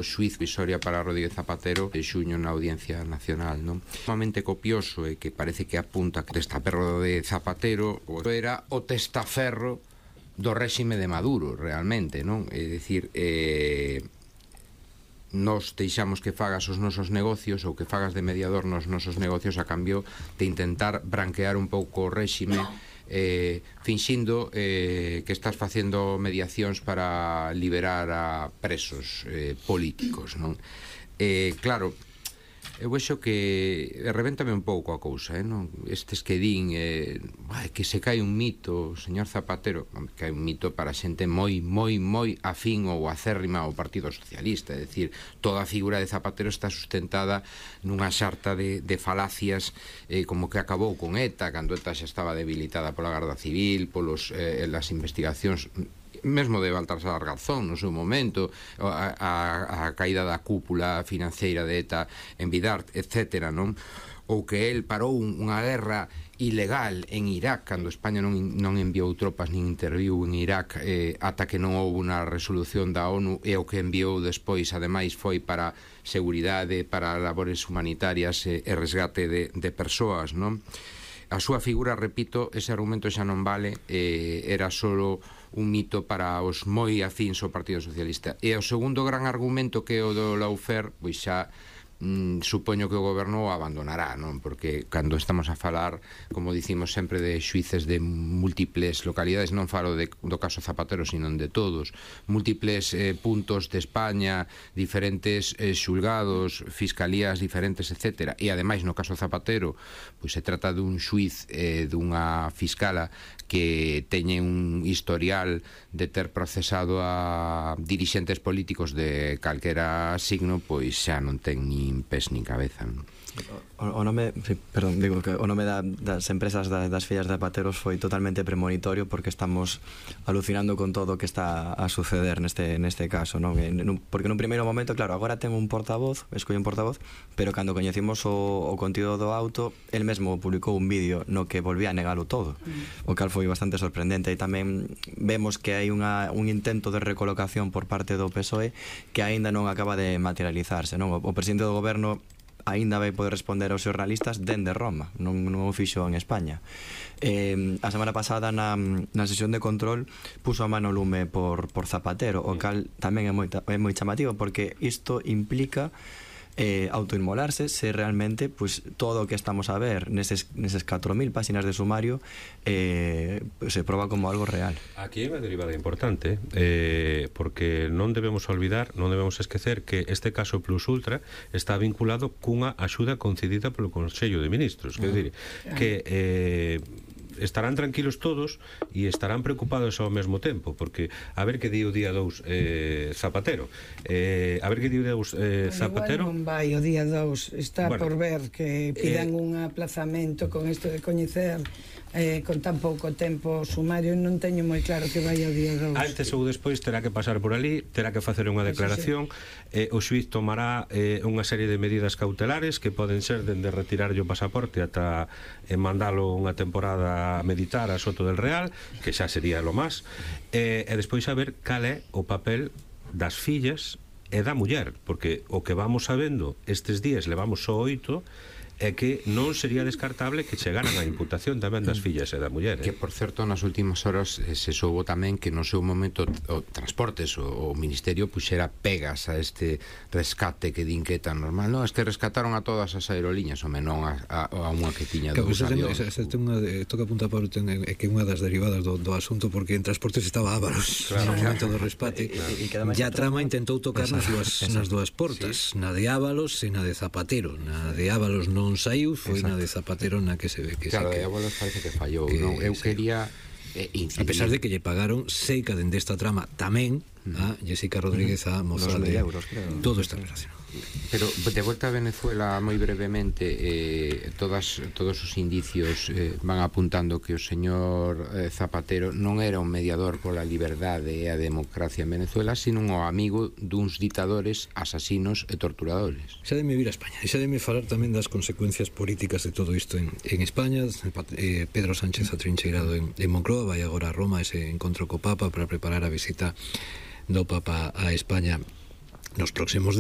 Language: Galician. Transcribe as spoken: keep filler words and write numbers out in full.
O xuíz Visoria para Rodríguez Zapatero e xuño na Audiencia Nacional, non? Sumamente copioso e que parece que apunta que o testaferro de Zapatero era o testaferro do réxime de Maduro, realmente, non? É dicir, eh, nos deixamos que fagas os nosos negocios ou que fagas de mediador nos nosos negocios a cambio de intentar branquear un pouco o réxime, eh, finxindo eh, que estás facendo mediacións para liberar a presos eh, políticos, non? Eh, claro, eu vexo que revéntame un pouco a cousa, eh, non? Estes que din eh, que se cae un mito, señor Zapatero, que hai un mito para xente moi, moi, moi afín ou acérrima ao Partido Socialista, é dicir, toda a figura de Zapatero está sustentada nunha xarta de, de falacias, eh, como que acabou con ETA, cando ETA xa estaba debilitada pola Garda Civil, polos, eh, las investigacións mesmo de Baltasar Garzón no seu momento, a, a, a caída da cúpula financeira de ETA en Bidart, etcétera, non? Ou que el parou unha guerra ilegal en Irak cando España non, non enviou tropas nin interviu en Irak eh, ata que non houve unha resolución da ONU, e o que enviou despois ademais foi para seguridade, para labores humanitarias e, e resgate de, de persoas, non? A súa figura, repito, ese argumento xa non vale, eh, era solo un mito para os moi afíns ao Partido Socialista. E o segundo gran argumento, que é o do lawfare, pois xa mm, supoño que o goberno o abandonará, non? Porque cando estamos a falar, como dicimos sempre, de xuíces de múltiples localidades, non falo de, do caso Zapatero, sino de todos, múltiples eh, puntos de España, diferentes eh, xulgados, fiscalías diferentes, etcétera. E ademais, no caso Zapatero, pois se trata dun xuiz, eh, dunha fiscala que teñe un historial de ter procesado a dirixentes políticos de calquera signo, pois xa non ten nin pés nin cabeza, non? O, o nome, perdón, digo que o nome da, das empresas da, das fillas de Zapateros foi totalmente premonitorio, porque estamos alucinando con todo o que está a suceder neste, neste caso, non? Porque nun primeiro momento, claro, agora ten un portavoz, escolle un portavoz, pero cando coñecimos o, o contido do auto, el mesmo publicou un vídeo no que volvía a negalo todo, o cal foi bastante sorprendente. E tamén vemos que hai unha, un intento de recolocación por parte do P S O E que aínda non acaba de materializarse, non? O, o presidente do goberno aínda vai poder responder aos xornalistas dende Roma, non, non o fixo en España. Eh, a semana pasada na, na sesión de control puso a mano lume por, por Zapatero, o cal tamén é moi, é moi chamativo, porque isto implica eh, autoinmolarse se realmente pues, todo o que estamos a ver neses, neses catro mil páxinas de sumario eh, se proba como algo real. Aquí hai unha derivada importante, eh, porque non debemos olvidar, non debemos esquecer que este caso Plus Ultra está vinculado cunha axuda concedida polo Consello de Ministros, quer dizer, que eh, estarán tranquilos todos e estarán preocupados ao mesmo tempo, porque a ver que di o día dous eh, Zapatero, eh, a ver que di o día dous eh, Zapatero. Igual non vai o día dous, está bueno, por ver que pidan eh, un aplazamento con isto de coñecer eh, con tan pouco tempo sumario. Non teño moi claro que vai o día dous. Antes ou despois terá que pasar por ali, terá que facer unha declaración, eh, o xuiz tomará eh, unha serie de medidas cautelares que poden ser dende retirarlle o pasaporte ata eh, mandalo unha temporada a meditar a Soto del Real, que xa sería lo más, eh, e despois a ver cal é o papel das fillas e da muller, porque o que vamos sabendo estes días, levamos só oito, é que non sería descartable que chegaran a imputación tamén das fillas e da muller, eh? Que, por certo, nas últimas horas eh, se soubo tamén que no seu momento o Transportes, o, o Ministerio puxera pegas a este rescate que din que é tan normal. Non, es que rescataron a todas as aerolíneas, home, non a, a, a unha que tiña claro, dous avións. Esa, esa, unha de, toca apuntar para o ten, é que unha das derivadas do, do asunto, porque en Transportes estaba Ávaros, claro, no momento do respate, claro. E, e ya Trama intentou tocar nas dúas, nas dúas portas, sí. Na de Ávalos e na de Zapatero. Na de Ávalos non saiu, foi na de Zapatero na que se ve que claro, se de Ábalos parece que fallou, que, non? Eu sí. quería eh, incidir. A pesar de que lle pagaron seica dende esta trama tamén a Jessica Rodríguez, a moza de euros, creo. Todo está relacionado. Pero de volta a Venezuela, moi brevemente, eh, todas, todos os indicios eh, van apuntando que o señor eh, Zapatero non era un mediador pola liberdade e a democracia en Venezuela, sino un amigo duns ditadores, asasinos e torturadores. Xa deme vir a España, e xa deme falar tamén das consecuencias políticas de todo isto en, en España. eh, Pedro Sánchez atrincheirado en, en Moncloa, vai agora a Roma ese encontro co Papa para preparar a visita do Papa a España nos próximos